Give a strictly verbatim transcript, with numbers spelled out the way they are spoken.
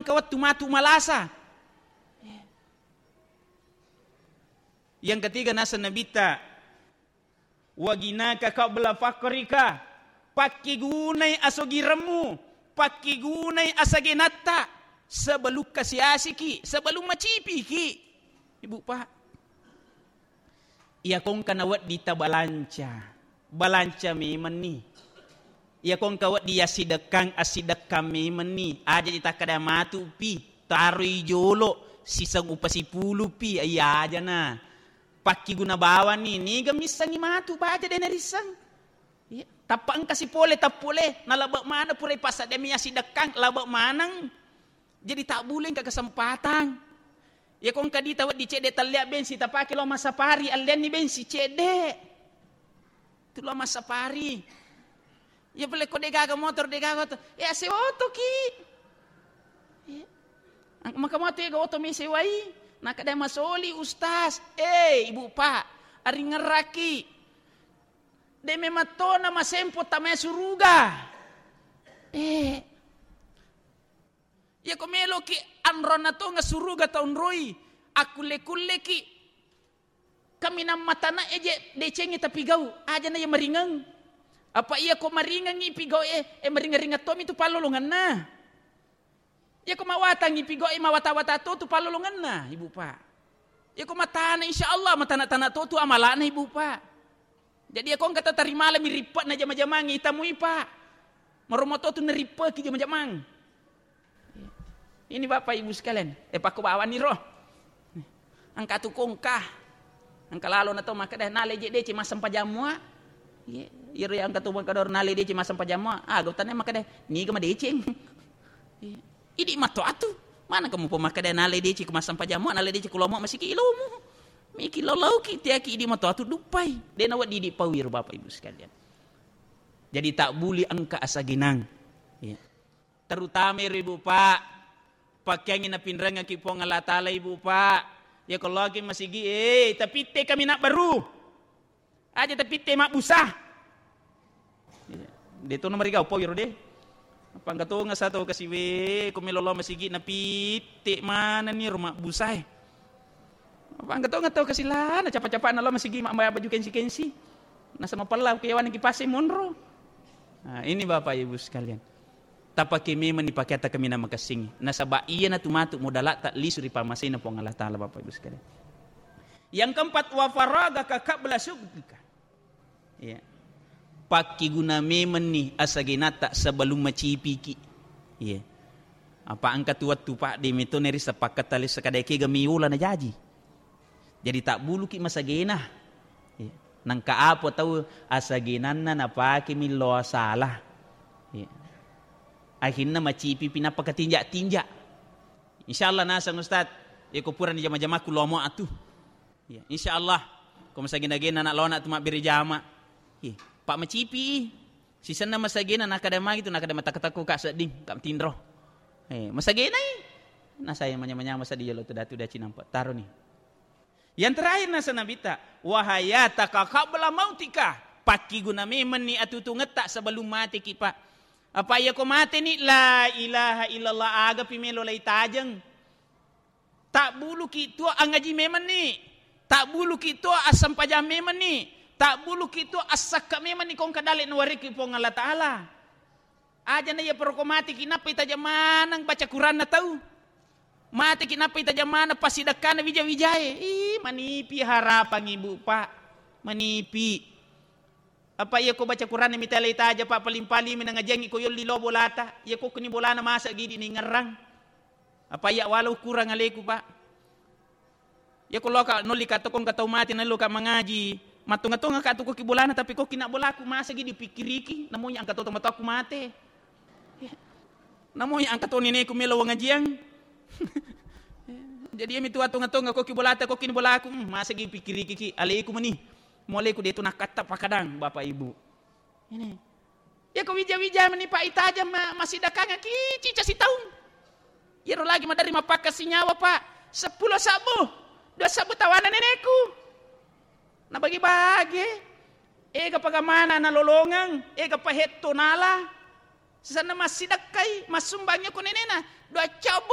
to wettu matu malasa. Yang ketiga, naseng Nabitta, "Wa ghinaka qabla faqrika." Pakkigunai asogiremmu, pakkigunai asagenatta sebelum kasiasiki, sebelum macipiki. Ibu, Pak. Iya kongka nawedding tabalanca, balanca memenni. Iya kongka wedding assidekkang, assidekkang memenni. Aja ditakkeda matupi, taroi jolo, siseng upasipulupi, iya ajana. Pakkiguna bawanni, niga missengngi matu baja de narisseng. Iya, tappa engka sipole tappole, nalabbe maneng pura ipassaddeang mi assidekkang, labbe maneng. Jadi tabbuli engka kesempatan. Iya ko engka dita wedding cedde tellia bensi tapake lao massapari, alleanni bensi cedde. Tu lao massapari. Iya pole ko degaga motor, degaga oto, eh, asewa otoki. Iya. Ang-, maka moto ega oto mesewai. Nakkeda masoli ustaz. Eh, ibu pak, aringerraki. De memang tona masempo tamai suruga. Eh. Iya ko meloki anronna tonga suruga taunroi, akkulle-kulleki kaminang matana eje decengi tapigau, aja na iya maringeng. Apa iya ko maringengi pigau e, eh, maringeng-ringeng tomi tu pallolonganna. Iya ko mawatangi pigau e, mawata-wata to tu pallolonganna, ibu pak. Iya ko matana, insya Allah matana-tana to tu amalana, ibu pak. Jadi iya ko engka tau tarimalami rippe'na jama-jamangnge, itamui pak. Maromo to tu narippeki jama-jamang. Ini bapak ibu sekalian, eh, pakko bawanni ro. Engka tu kongka. Engka lalo na to makkeda nale je dece massempajang mua. Iya, iyaro engka to makkeda nale dece massempajang mua. Ah, gau tane makkeda niga madeceng. Iya. Idi matoatu. Mana kamu pemakkeda nale dece ku massempajang mua, nale dece ku lomo masiki ilomu. Miki lau-lauki tiaki idi matoatu duppai. De na wedding idi pau iyaro bapak ibu sekalian. Jadi tabbuli engka asagenang. Iya. Terutama ero ibu pak, pakkeangngi napinrengngeki Puang Allah Taala ibu pak. Iya ko loki masigi, eh, tapitte kami nak baru. Aja tapitte mabbusa. Iya. De to na marigau pau iro de. Apa engka tonga sa tau kasiwe, ko melo lao masigi napitte manenni ro mabbusae. Apa engka tonga tau kasilana capa-capana lao masigi ma-, ma-, baju kensi-kensi. Nasaba pella ku yawaneng ki pase monro. Nah, ini bapak ibu sekalian. Tapake memang ni pakeatta kaminang makessing. Nasaba iyana tu matu modalatta lisu ri pammasena Puang Allah Taala, bapak ibu sekalian. Yang keempat, wa faragaka qabla syughlika. Iya. Pakkiguna memenni asagenatta sebelum macipiki. Iya. Apa engka tu wettu pak de meto neri sepakat tali sekadai kega miula na jaji. Jadi tabbuluki masagena. Iya. Nangka apa tau asagenanna napakemi loa salah. Iya. Akhirna macipipi nappa katinja-tinja. Insya Allah naseng ustaz, iya ko purani jama-jamaku lomo atu. Iya, insya Allah. Ko masagena-gena nak lona tu mabbere jama. Iya, pak macipi. Sisenna masagena nakada magi tu nakada matakko-takko ka sedding, ka tinro. Eh, masagenai. Nasaya manyama-nyama sadi yolo tu datu daci nampa. Taro ni. Yang terakhir nasa Nabitta, wahayataka qabla mautika. Pakkiguna memenni atutungetta sebelum mateki, Pak. Apa iya ko mateni, la ilaha illallah, agapi melo lai tajeng. Tabbuluki tuo angaji memenni, tabbuluki tuo assempajang memenni, tabbuluki tuo assakka memenni ko engka dale nawariki Puang Allah Taala. Aja na iya paroko mateki nappai tajeng maneng baca Quranna tau. Mateki nappai tajeng maneng passidekkana wija-wijae. Ih, manipi harapang ibu, Pak. Manipi. Apa iya ko baca Quranna mita lai taja, Pak, paling-paling mi nangajiangi ko yolli lo bolata. Iya ko kuni bolana masa gidi ningerrang. Apa iya walau kurang aleku, Pak. Iya ko loka nolli ka tokong ka tau mate nallo ka mangaji. Mattonga-tonga ka tokoki bolana tapi koki nak bolaku masa gidi pikkiriki. Namoi angka to tomatoaku mate. Iya. Namoi angka to neneku melo wangajiang. Jadi iya mitu attonga-tonga koki bolata koki ni bolaku. Hmm, masa gidi pikkiriki ki aleku meni. Moleku de tu nakkatta pakadang, Bapak Ibu. Ini. Iya ko wija-wija meni, Pak, itajeng ma-, massidakkangeng ki cica sitaung. Iyaro lagi maderri mappakka sinyawa, Pak. Seppulo sabbu, dua sabbu tawana neneku. Nabagi-bagi. Ega pagamana nalolongeng, ega pahetto nala. Sisenna massidakkai, massumbangi ko nenena. Dua cabbu